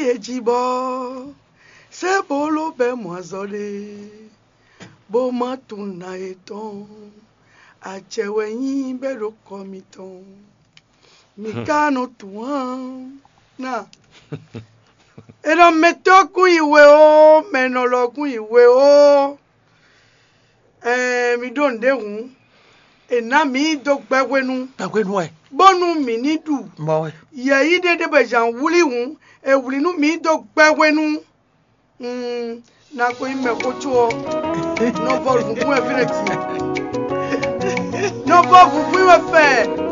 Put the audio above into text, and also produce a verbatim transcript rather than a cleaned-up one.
E jí bɔ sɛ bolo bɛ mɔ azɔ ɖe, bó má tunwun na yětɔn. Acɛ wɛ nyí bɛ ɖo kɔ mitɔn. Mi ka nɔ tunwun ná. E nɔ mɛtɔ́ kún yi we ó, mɛ nɔ lɔ kún yi we ó. Ɛɛ, mi ɖó nǔɖé hǔn, è nǎ mǐ dó gbɛ́ hwenu, Gbɛhwenu wɛ. Bónú mǐ ní ɖu. Mɔ wɛ. Yɛ̌yi ɖé ɖé bɔ zǎn wlí hǔn, è wlǐ nú mǐ dó gbɛ́ hwenu. Mm, na ko nyí mɛxó có ɔ́, nɔ vɔ vǔnvún wɛ fínɛ́ din. Nɔ vɔ vǔnvún wɛ fɛ.